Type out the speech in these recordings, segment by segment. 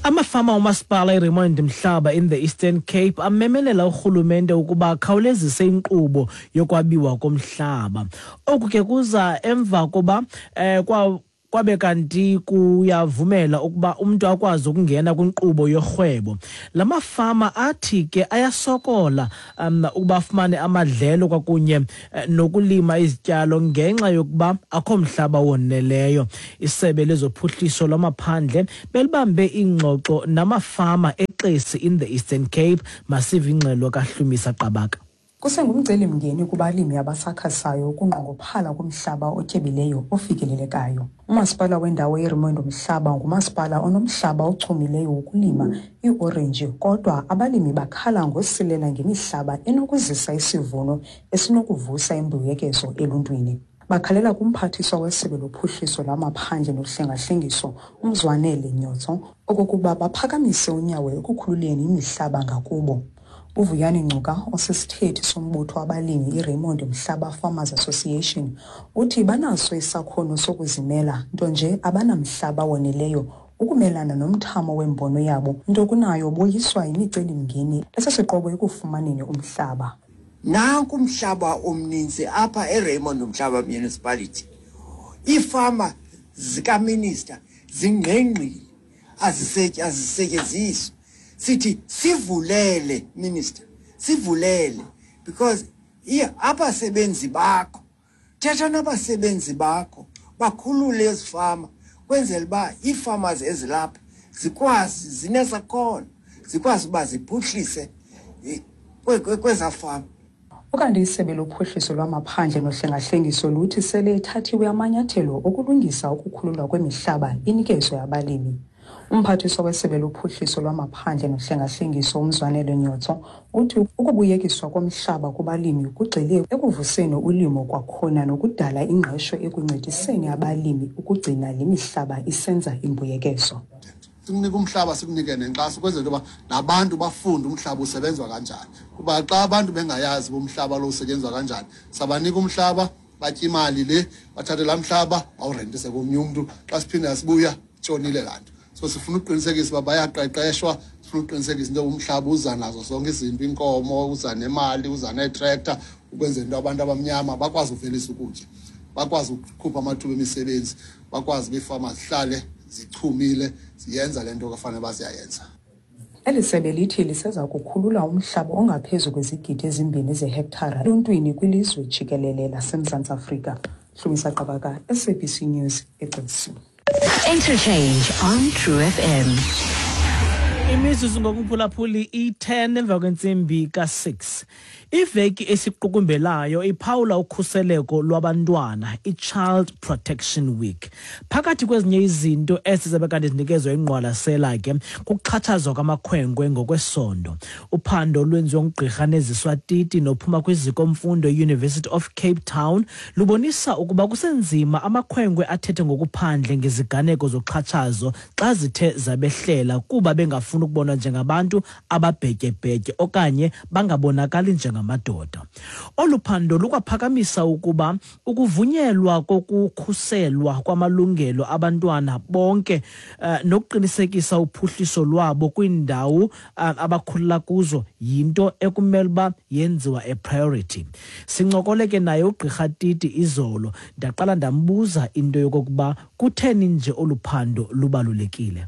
Amafama omasipala iRaymond Mhlaba in the Eastern Cape amemelela urhulumente ukuba akhawulezise inkqubo yokwabiwa komhlaba. Oku ke kuza emva koba eh, kwa kwabe kanti kuyavumela ukuba umntu akwazi ukungena kwinkqubo yorhwebo. La mafama athi ke ayasokola um ukuba afumane amadlelo kwakunye eh, nokulima izityalo ngenxa yokuba akho mhlaba woneleyo. Isebe lezophuhliso lwamaphandle belibambe iingxoxo namafama eXesi in the Eastern Cape. Masive ingxelo kaHlumisa Qabaka. Kusengumcelimngeni kubalimi abasakhasayo ukunqongophala komhlaba otyebileyo ofikelelekayo. Umasipala wendawo yeRaymond Mhlaba ngumasipala onomhlaba ochumileyo wokulima iiorenji kodwa abalimi bakhala ngosilela ngemihlaba enokuzisa isivuno esinokuvusa imbuyekezo eluntwini. Bakhalela kumphathiswa wesebe lophuhliso lwamaphandle nohlengahlengiso uMzwanele Nyotso okokuba baphakamise unyawo ekukhululeni imihlaba ngakubo. UVuyani Ngcuka osisithethi sombutho wabalimi iRaymond Mhlaba Farmers Association uthi banaso isakhono sokuzimela nto nje abanamhlaba woneleyo ukumelana nomthamo wembono yabo nto kunayo boyiswa yimicelimngeni esisiqobo ekufumaneni umhlaba. Nanku umhlaba omninzi apha eRaymond Mhlaba Municipality. Iifama zikaminister zingqengqile azisetyenziswa. Sithi sivulele minister, sivulele because abasebenzi bakho, thetha nabasebenzi bakho bakhulule ezifama kwenzela uba ii-farmers ezilapha zikwazi, zinesakhono, zikwazi uba ziphuhlise kwezaa fama. Ukanti isebe lophuhliso lwamaphandle nohlengahlengiso luthi sele ethathiwe amanyathelo okulungisa ukukhululwa kwemihlaba inikezwe abalimi. Umphathiswa wesebe lophuhliso lwamaphandle nohlengahlengiso uMzwanele Nyotso uthi ukubuyekiswa komhlaba kubalimi kugxile ekuvuseni ulimo kwakhona nokudala ingqesho ekuncediseni abalimi ukugcina le mihlaba isenza imbuyekezo. Sikunike umhlaba, sikunike nenkxaso ukwenzela into yoba nabantu bafunde umhlaba usebenzwa kanjani, kuba xa abantu bengayazi uba umhlaba lo usetyenzwa kanjani, sabanika umhlaba batya imali le, bathathe laa mhlaba bawurentise komnye umntu, xa siphinda sibuya tshonile laa nto. So sifuna ukuqinisekisa uba bayaqeqeshwa, sifuna ukuqinisekisa into yoba umhlaba uza nazo zonke izinto, iinkomo, uza nemali, uza neetrektha, ukwenzela into abantu abamnyama bakwazi uvelisa ukutya, bakwazi ukukhupha amathuba emisebenzi, bakwazi uba iifama zihlale zichumile, ziyenza le nto kufanele uba ziyayenza. Eli sebe lithi liseza kukhulula umhlaba ongaphezu kwezigidi ezimbini zehektara eluntwini kwilizwe jikelele laseMzantsi Afrika. Hlumisa Qabaka, SABC News, eXesi. Interchange on True FM. Imizuzu ngokumphulaphuli i-10 emva kwentsimbi ka-6. Iveki esiqukumbelayo iphawula ukhuseleko lwabantwana, i-Child Protection Week. Phakathi kwezinye izinto esizabe kanti zinikezwa ingqwalasela ke kukuxhatshazwa kwamakhwenkwe ngokwesondo. Uphando olwenziwe ngugqirha Neziswa Titi nophuma kwiziko mfundo i-University of Cape Town lubonisa ukuba kusenzima amakhwenkwe athethe ngokuphandle ngeziganeko zoxhatshazo xa zithe zabehlela kuba bengafuni ukubonwa njengabantu ababhetyebhetye okanye bangabonakali njengamadoda. Olu phando lukwaphakamisa ukuba ukuvunyelwa kokukhuselwa kwamalungelo abantwana bonke eh, nokuqinisekisa uphuhliso lwabo kwiindawo eh, abakhulela kuzo yinto ekumele uba yenziwa a priority. Sincokole ke naye ugqirha Titi izolo, ndaqala ndambuza into yokokuba kutheni nje olu phando lubalulekile.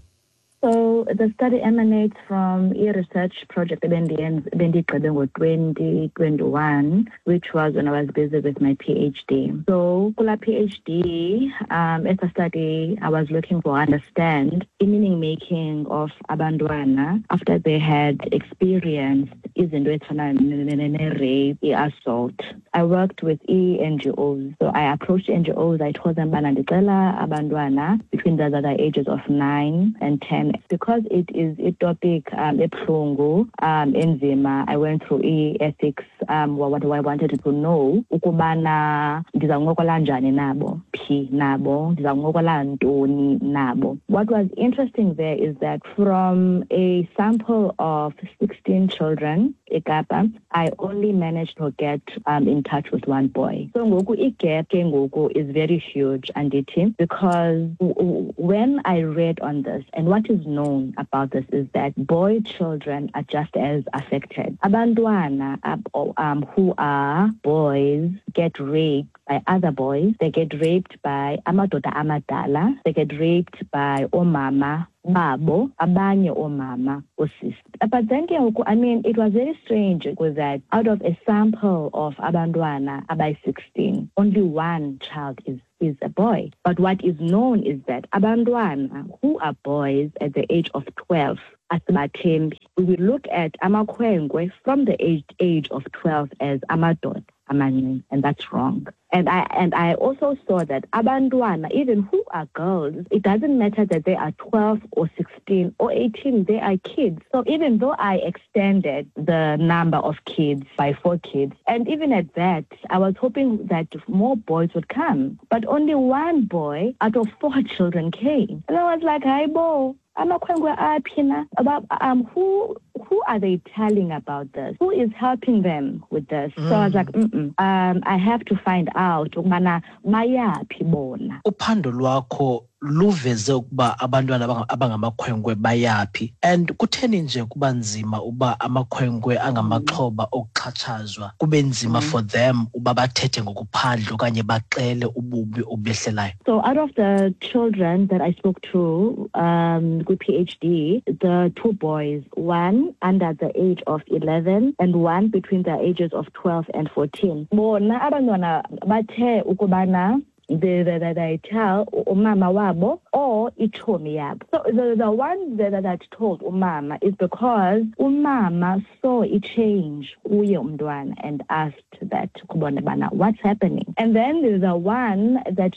So the study emanates from a research project ebendiyigqibe ngo-2021, which was when I was busy with my PhD. So kula PhD, as a study, I was looking for understand the meaning making of abantwana after they had experienced izinto ezifana ne-rape, i-assault. I worked with e-NGOs. So I approached NGOs. I told them bana ndicela abantwana between the other ages of 9 and 10. Because it is a topic ebuhlungu, enzima, I went through e-ethics what I wanted to know ukubana ndizawuncokola njani nabo, phi nabo, ndizawuncokola ntoni nabo. What was interesting there is that from a sample of 16 children eKapa, I only managed to get in touch with one boy. So ngoku igap ke ngoku is very huge, andithi, because when I read on this, and what is known about this is that boy children are just as affected. Abantwana who are boys get raped by other boys. They get raped by amadoda amadala. They get raped by omama babo, abanye omama, osisi. But then ke ngoku, I mean, it was very strange because that out of a sample of abantwana abayi-16, only one child is a boy. But what is known is that abantwana who are boys at the age of 12, asibathembi. We will look at amakhwenkwe from the age of 12 as amadoda amancinci, and that's wrong. And I also saw that abantwana, even who are girls, it doesn't matter that they are 12 or 16 or 18, they are kids. So even though I extended the number of kids by 4 kids, and even at that, I was hoping that more boys would come. But only one boy out of 4 children came. And I was like, hi, bo. Amakhwenkwe aphi na? About, who are they telling about this? Who is helping them with this? So I was like, I have to find out ukubana bayaphi bona. Uphando lwakho luveze ukuba abantwana abangamakhwenkwe bayaphi, and kutheni nje kuba nzima uba amakhwenkwe angamaxhoba okuxhatshazwa kube nzima for them uba bathethe ngokuphandle okanye baxele ububi obehlelayo? So out of the children that I spoke to with PhD, the 2 boys, one under the age of 11 and one between the ages of 12 and 14. Bona abantwana bathe ukubana they tell umama wabo or ichomi yabo. So the one that told umama is because umama saw a change kuye umntwana and asked that kubona bana what's happening. And then the one that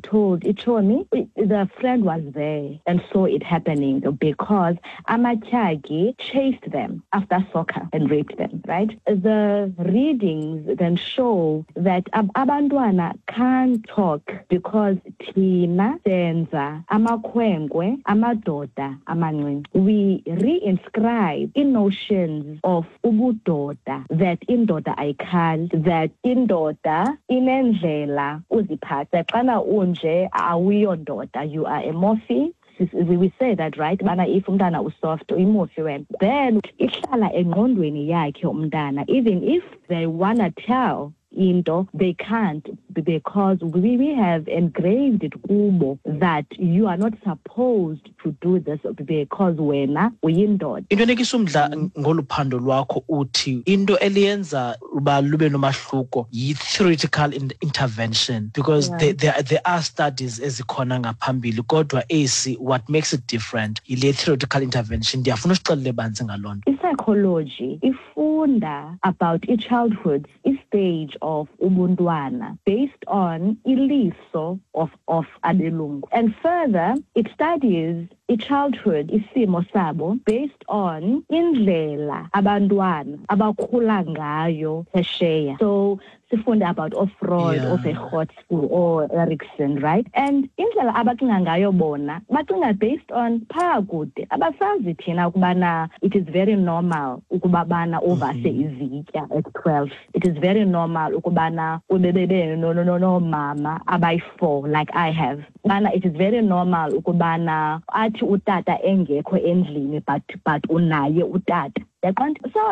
told ichomi, the friend was there and saw it happening because amatyagi chased them after soccer and raped them, right? The readings then show that abantwana can't talk because thina senza amakhwenkwe amadoda amancinci. We reinscribe notions of ubudoda, that indoda ayikhali, that indoda inendlela uziphatha. Xana unje awuyondoda, you are a morphe. We say that, right? Bana if umntana usoft, uyimufi wena. Then ihlala engqondweni yakhe umntana, even if they wanna tell into, they can't, because we have engraved it kubo that you are not supposed to do this because wena uyindoda. Into enikisa umdla ngolu phando lwakho uthi into eliyenza uba lube nomahluko yi-theoretical intervention, because there are studies ezikhona ngaphambili, kodwa esi what makes it different yile theoretical intervention. Ndiyafuna usixelele banzi ngaloo nto. I-psychology ifunda about i-childhood, i-stage of ubuntwana based on iliso of abelungu. And further, it studies i-childhood, isimo sabo, based on indlela abantwana abakhula ngayo phesheya. So sifunda about Freud, Vygotsky, or Erikson, right? And indlela abacinga ngayo bona, bacinga based on phaa kude. Abasazi thina ukubana it is very normal ukuba bana uvase izitya at 12. It is very normal ukubana ubebebe no mama abayi-4 like I have. Bana it is very normal ukubana athi utata engekho endlini but unaye utata. So I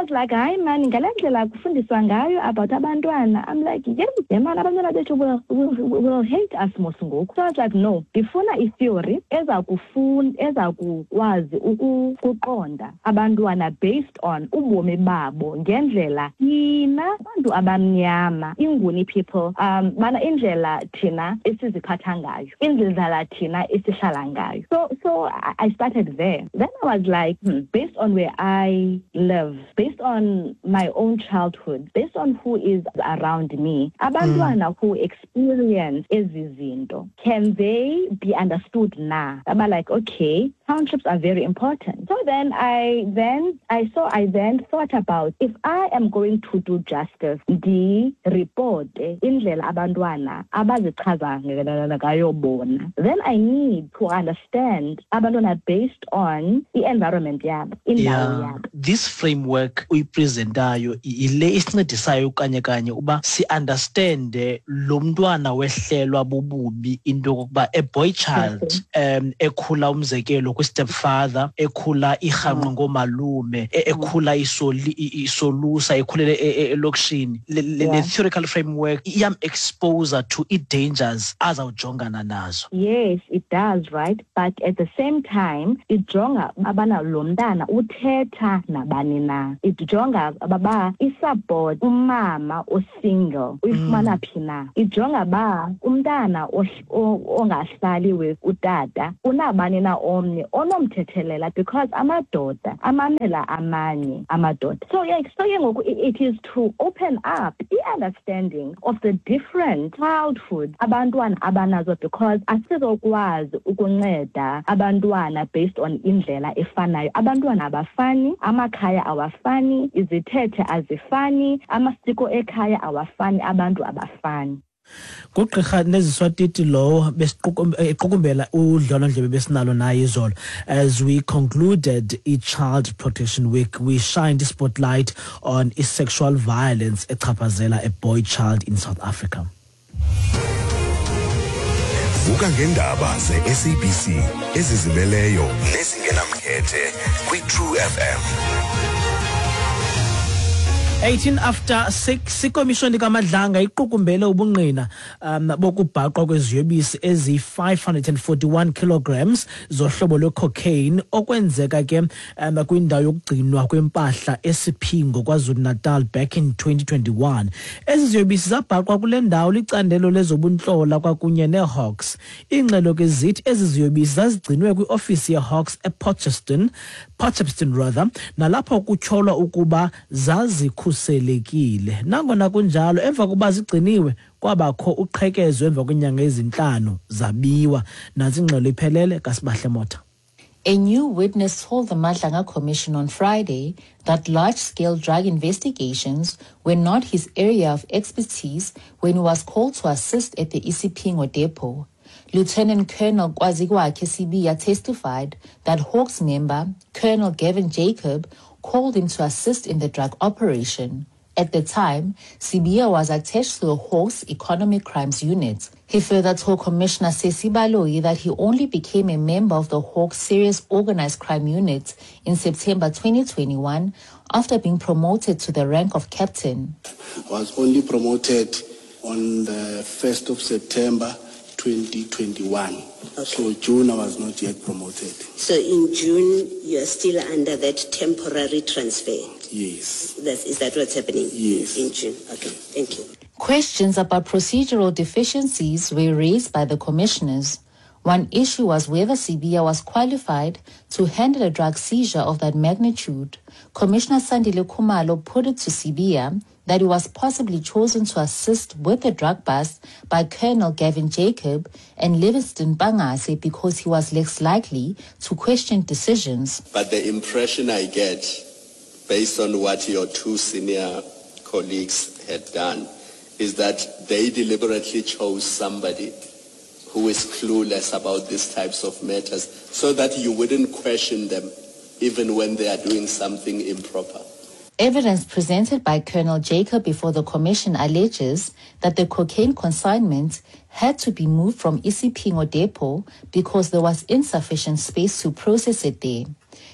was like, hayi man, ngale ndlela kufundiswa ngayo about abantwana. I'm like, yeah, man, abantwana bethu will hate us mos ngoku. So I was like, no, ndifuna i-theory ezakukwazi ukuqonda abantwana based on ubomi babo ngendlela thina abantu abamnyama, iNguni people, bana indlela thina esiziphatha ngayo, indlela thina esihlala ngayo. So I started there. Then I was like, based on where I live, based on my own childhood, based on who is around me, abantwana who experience ezi zinto, can they be understood na? I'm like, okay, Townships are very important. So then I then I so I then thought about if I am going to do justice, ndi-report indlela abantwana abazichaza ngayo bona. Then I need to understand abantwana based on i-environment yabo, indawo yabo. This framework uyipresentayo yile isincedisayo kanye kanye uba si-understande lo mntwana wehlelwa bububi, into yokokuba a boy child ekhula umzekelo kwi-stepfather, ekhula irhanqwe ngoomalume, ekhula isolusa, ekhulele elokishini, le theoretical framework iyam-exposer to ii-dangers azawujongana nazo. Yes, it does, right? But at the same time, ijonga abana lo mntana uthetha nabani na. Ijonga baba isupport umama osingle uyifumana phi na. Ijonga ba umntana ongahlali with utata unabani na omnye onomthethelela, because amadoda amamela amanye amadoda. So yeah, so ke ngoku it is to open up i-understanding of the different childhoods abantwana abanazo, because asizokwazi ukunceda abantwana based on indlela efanayo. Abantwana abafani, amakhaya awafani, izithethe azifani, amasiko ekhaya awafani, abantu abafani. Ngugqirha Neziswa Titi lowo equkumbela udlwalondlebe besinalo naye izolo. As we concluded i-Child Protection Week, we shined spotlight on i-sexual violence echaphazela a boy child in South Africa. Vuka ngendaba ze-SABC ezizimeleyo nezingenamkhethe kwi-True FM. 18 after 6. Ikomishoni kaMadlanga iqukumbele ubungqina bokubhaqwa kweziyobisi eziyi-541 kilograms zohlobo lwecocaine okwenzeka ke kwindawo yokugcinwa kwempahla eSiphingo KwaZulu-Natal back in 2021. Ezi ziyobisi zabhaqwa kule ndawo licandelo lezobuntlola kwakunye neeHawks. Iingxelo ke zithi ezi ziyobisi zazigcinwe kwiofisi yeHawks ePortcheston, Potchefstroom rather, nalapho kutyholwa ukuba zazikhuselekile. Nangona kunjalo, emva kokuba zigciniwe kwabakho uqhekezo emva kweenyanga ezintlanu, zabiwa. Nantsi ingxelo iphelele kaSibahle Motha. A new witness told the Madlanga Commission on Friday that large-scale drug investigations were not his area of expertise when he was called to assist at the Isipingo depot. Lieutenant Colonel Kwazikwakhe Sibiya testified that Hawks member, Colonel Gavin Jacob, called him to assist in the drug operation. At the time, Sibiya was attached to the Hawks Economic Crimes Unit. He further told Commissioner Sesi Baloyi that he only became a member of the Hawks Serious Organized Crime Unit in September 2021 after being promoted to the rank of captain. I was only promoted on the 1st of September 2021. Okay. So June I was not yet promoted. So in June you are still under that temporary transfer? Yes. Is that what's happening? Yes. In June. Okay, thank you. Questions about procedural deficiencies were raised by the commissioners. One issue was whether Sibiya was qualified to handle a drug seizure of that magnitude. Commissioner Sandile Khumalo put it to Sibiya that he was possibly chosen to assist with the drug bust by Colonel Gavin Jacob and Livingston Bangase because he was less likely to question decisions. But the impression I get, based on what your two senior colleagues had done, is that they deliberately chose somebody who is clueless about these types of matters so that you wouldn't question them even when they are doing something improper. Evidence presented by Colonel Jacob before the commission alleges that the cocaine consignment had to be moved from Isipingo Depot because there was insufficient space to process it there.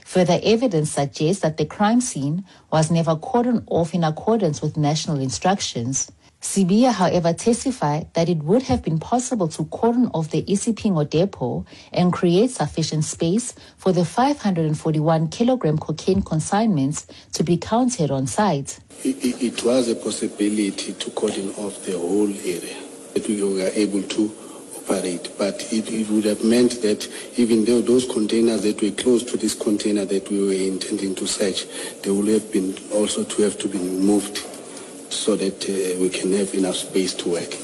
Further evidence suggests that the crime scene was never cordoned off in accordance with national instructions. Sibiya, however, testified that it would have been possible to cordon off the Isipingo Depot and create sufficient space for the 541 kilogram cocaine consignments to be counted on site. It was a possibility to cordon off the whole area that we were able to operate, but it would have meant that even though those containers that were close to this container that we were intending to search, they would have been also to have to be moved so that we can have enough space to work.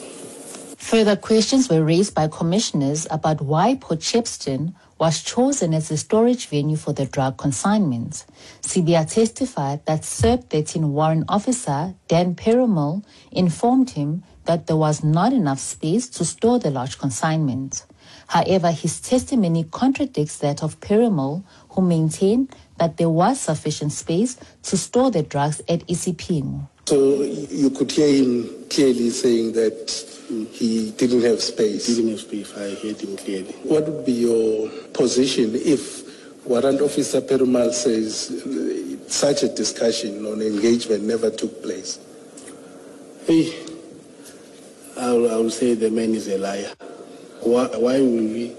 Further questions were raised by commissioners about why Port Shepstone was chosen as a storage venue for the drug consignments. Sibia testified that SERB 13 warrant officer Dan Perumal informed him that there was not enough space to store the large consignment. However, his testimony contradicts that of Perumal, who maintained that there was sufficient space to store the drugs at Isipingo. So you could hear him clearly saying that he didn't have space. He didn't have space. I heard him clearly. What would be your position if Warrant Officer Perumal says such a discussion on engagement never took place? Hey, I will say the man is a liar. Why will we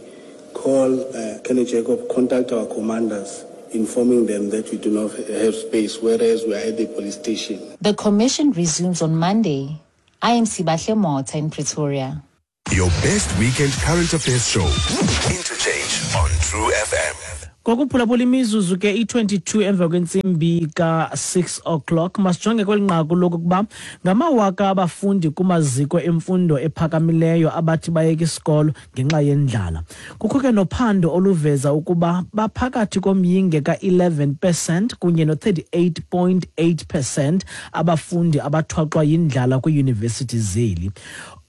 call Kenny Jacob, contact our commanders, informing them that we do not have space, whereas we are at the police station? The commission resumes on Monday. I am Sibahle Mota in Pretoria. Your best weekend current affairs show, Interchange on True FM. Ngokuphulaphula imizuzu ke i-22 emva kwentsimbi ka-6 o'clock, masijonge kweli nqaku lokokuba ngamawaka abafundi kumaziko emfundo ephakamileyo abathi bayeka isikolo ngenxa yendlala. Kukho ke nophando oluveza ukuba baphakathi komyinge ka-11 percent kunye no-38.8 percent abafundi abathwaxwa yindlala kwiiyunivesithi zeli.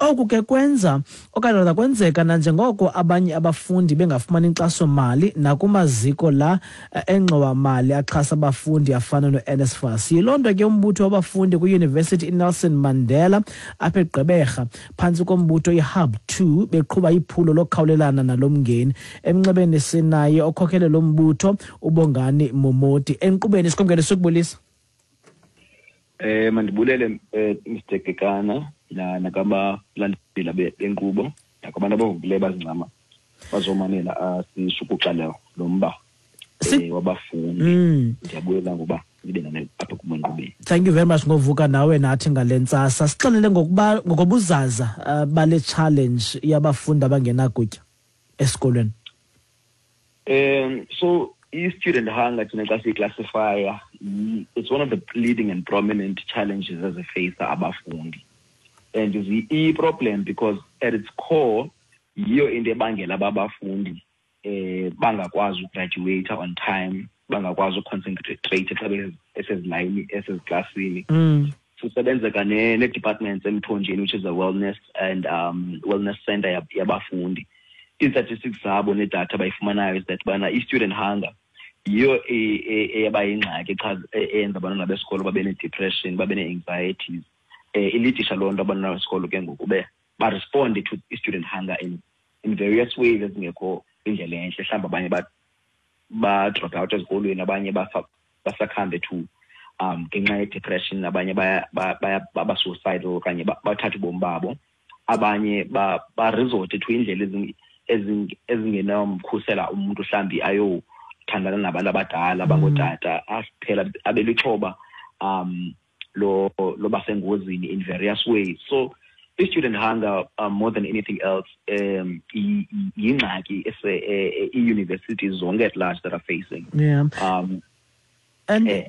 Oku ke kwenza okanye kwenzeka nanjengoko abanye abafundi bengafumani inkxasomali nakumaziko la engxowamali axhasa abafundi afana no-NSFAS. Yiloo nto ke umbutho wabafundi kwiyunivesithi iNelson Mandela apha eGqeberha phantsi kombutho iHub 2 beqhuba iphulo lokukhawulelana nalo mngeni. Emnxebeni sinaye okhokhele lo mbutho uBongani Momoti. Enkqubeni sikomkele sokubulisa. Mandibulele Mr Kekana nakabalandela benkqubo nakubantu abavukileyo bazincama bazomanela sishukuxa lo mba wabafundi. Ndiyabulela ngoba nibe nami apha kumenkqubeni. Thank you very much ngovuka nawe nathi ngale ntsasa. Sixelele ngokuba ngokobuzaza bale challenge yabafundi abangenakutya esikolweni. So i-student hunger thina xa siyiclassifya, it's one of the leading and prominent challenges ezifeyisa abafundi. And i-problem because at its core yiyo into ebangela abafundi bangakwazi ugraduate on time, bangakwazi uconcentrate xa besezilayini eseziklasini. Sisebenzeka ne-departments emthonjeni, which is a wellness and wellness center yabafundi. Ii-statistics zabo nedatha bayifumanayo is that bana i-student hunger yiyo eyaba yingxaki eyenza abantwana besikolo babe ne-depression, babe ne-anxieties. Ilidisha loo nto abantwana besikolo ke ngoku baresponde to i-student hunger in various ways ezingekho indlela entle. Mhlawumbi abanye ba-drop out ezikolweni, abanye basakhambe to ngenxa ye-depression, abanye baba-suicidal okanye bathathe ubomi babo, abanye baresorte to iindlela ezingenamkhusela umuntu mhlawumbi ayothandana nabantu abadala abangootata, aphela abe lixhoba loba sengozini in various ways. So i-student hunger, more than anything else, yingxaki ii-universities zonke at large that are facing. Yeah. And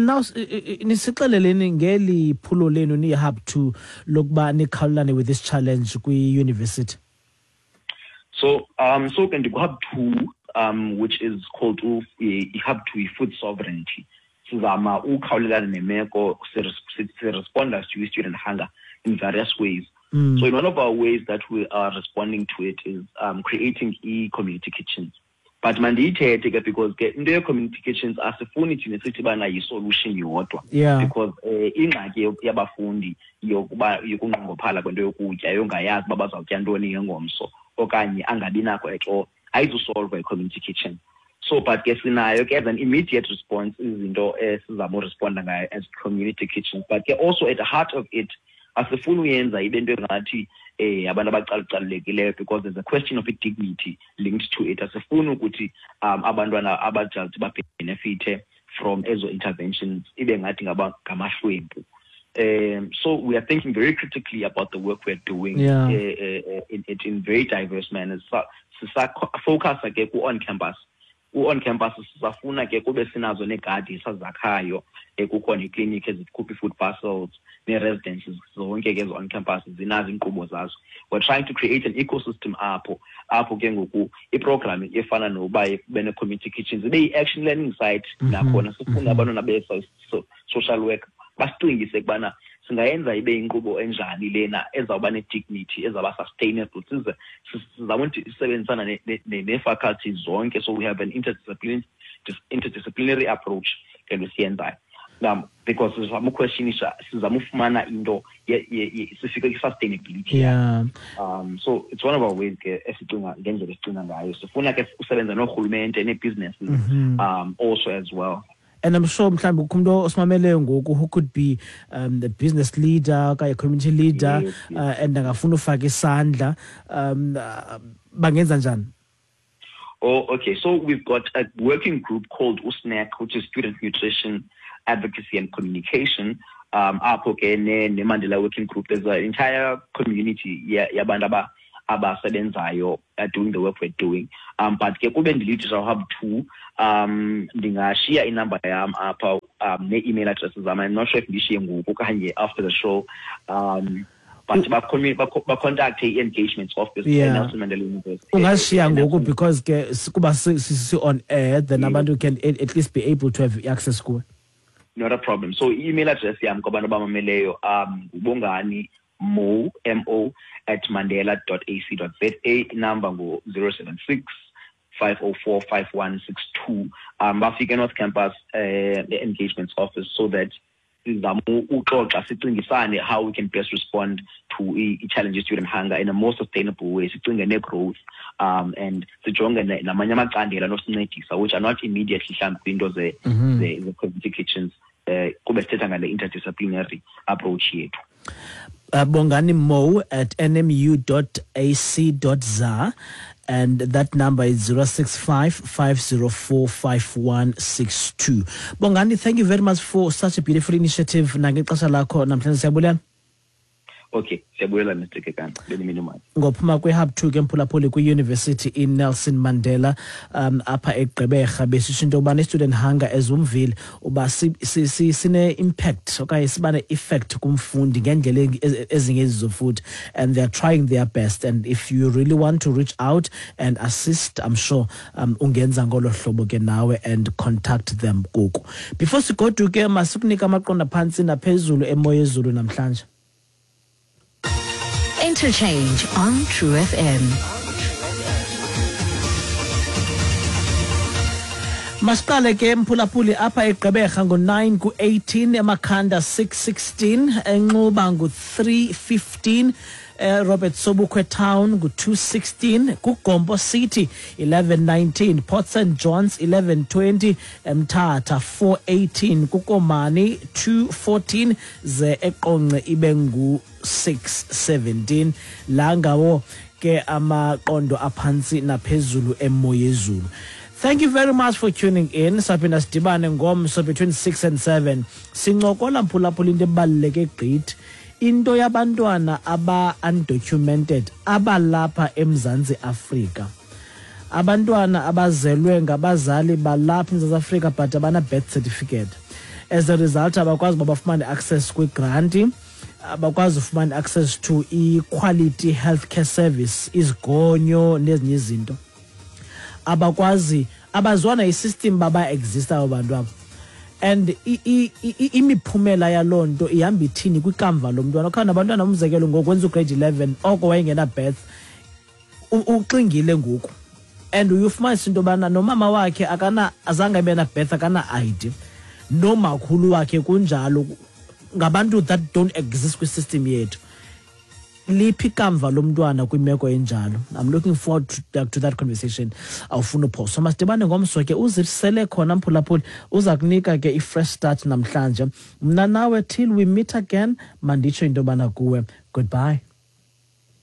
now nisixeleleni ngeli phulo lenu niyi-Hub 2 lokuba nikhawulelane with this challenge kwi-university. So so ke ndiku-Hub 2, which is called i-Hub 2 food sovereignty. Sizama ukhawulelana nemeko, siresponda to student hunger in various ways. So in one of our ways that we are responding to it is creating e-community kitchens. But mandiyithethe ke because ke into ye-community kitchens asifuni thina sithi bana yi-solution yodwa. Because ingxaki yabafundi yokuba yokunqongophala kwento yokutya, yongayazi uba bazawutya ntoni ngengomso okanye angabi nako at all, ayizusolva i-community kitchen. So but ke sinayo ke as an immediate response izinto esizama uresponda ngayo as community kitchens. But ke also at the heart of it asifuni uyenza ibe into engathi abantu abacalucalulekileyo, because there's a question of dignity linked to it. Asifuni ukuthi abantwana abadult babenefite from ezo interventions ibe ngathi ngamahlwempu. So we are thinking very critically about the work we are doing in very diverse manners. So, focus ke ku on campus U-on campus sisafuna ke kube sinazo neegadi esazakhayo, kukho neeklinikhi ezikhupha ii-food parcels, nee-residences zonke ke ezi-on campus zinazo iinkqubo zazo. We're trying to create an ecosystem apho ke ngoku iprogram efana noba kube nee-community kitchens ibe yi-action learning site. Nakhona sifuna abantwana be-social work basicingise ukubana singayenza ibe inkqubo enjani lena ezawuba ne-dignity, ezawuba sustainable. Size sizame ukuthi sisebenzisana nee-faculties zonke, so we have an interdisciplinary approach ke nto siyenzayo now, because sizama uquestionisha, sizama ufumana into sifike kwi-sustainability. So it's one of our ways ke esicinga ngendlela esicinga ngayo. Sifuna ke usebenza noorhulumente nee-businesses also as well. And I'm sure mhlawumbi kukho umntu osimameleyo ngoku who could be the business leader okanye community leader and angafuna ufaka isandla, bangenza njani? Oh, okay. So we've got a working group called USNAC, which is Student Nutrition Advocacy and Communication. Apho ke ne Mandela Working Group, there's an entire community yabantu abasebenzayo doing the work we're doing. But ke kube ndilidisha Hub 2, ndingashiya inamba yam apha nee-email addresses zam. I'm not sure if ndishiye ngoku okanye after the show. But bacontacte i-engagements office eNelson Mandela University. Ungashiya ngoku because ke kuba si-on air, then abantu can at least be able to have access kuwe. Not a problem. So i-email address yam kwabantu abamameleyo, ngubongani mo mo @mandela.ac.za. Inumber ngu-076 504 5162. Bafike eNorth Campus, the engagements office, so that sizame uxoxa, sicingisane how we can best respond to i-challenges student hunger in a more sustainable way, sicinge ne-growth and sijonge namanye amacandelo anosincedisa, which are not immediately mhlawumbi kwiinto ze-community kitchens, kube sithetha ngale interdisciplinary approach yethu. Bongani Mo at nmu.ac.za, and that number is 065 504 5162. Bongani, thank you very much for such a beautiful initiative. Nangexesha lakho namhlanje, siyabulela. Okay, siyabulela, Mr Kekana, benimini mali. Ngophuma kwe-Hub 2 ke, mphulaphuli, kwi-University iNelson Mandela apha eGqeberha, besisho into yokubana i-student hunger, ezumvile uba sine-impact okanye siba ne-effect kumfundi ngendlela ezingezizo futhi, and they are trying their best. And if you really want to reach out and assist, I'm sure ungenza ngolo hlobo ke nawe and contact them kuku. Before sigoduke, masikunika amaqonda phantsi naphezulu emoyezulu namhlanje. Interchange on True FM. Masiqale ke, mphulaphuli, apha eGqeberha ngo-9 ku-18, eMakhanda 616, eNxuba ngu-315, Robert Sobukwe Town ngu-216, kuGompo City 1119, Port St Johns 1120, eMthatha 418, kuKomani 214, ze eQonce ibe ngu-617. La ngawo ke amaqondo aphantsi naphezulu emoyezulu. Thank you very much for tuning in. Saphinda sidibane ngomso between 6 and 7. Sincokola, mphulaphula, into ebaluleke gqithi, into yabantwana aba-undocumented abalapha eMzantsi Afrika, abantwana abazelwe ngabazali balapha eMzantsi Afrika but abana birth certificate. As a result, abakwazi uba bafumane access kwigranti, abakwazi ufumana access to i-quality healthcare service, izigonyo nezinye izinto. Abakwazi, abaziwa isystem baba exist abo bantu abo, and imiphumela yaloo nto ihamba ithini kwikamva lomntwana. Okanye nabantwana, umzekelo, ngokwenza ugrade 11 oko wayengena birth, uxingile ngoku, and uye ufumanisa into yobana nomama wakhe akana, azange abe na-birth, akana-ID, nomakhulu wakhe kunjalo, ngabantu that don't exist kwisystem yethu. Liphi ikamva lomntwana kwimeko enjalo? I'm looking forward to that conversation. Awufuna uphoso, masidibane ngomso ke. Uzisele khona, mphulaphuli, uza kunika ke i-fresh start namhlanje. Mna nawe, till we meet again, manditsho into yobana kuwe, goodbye.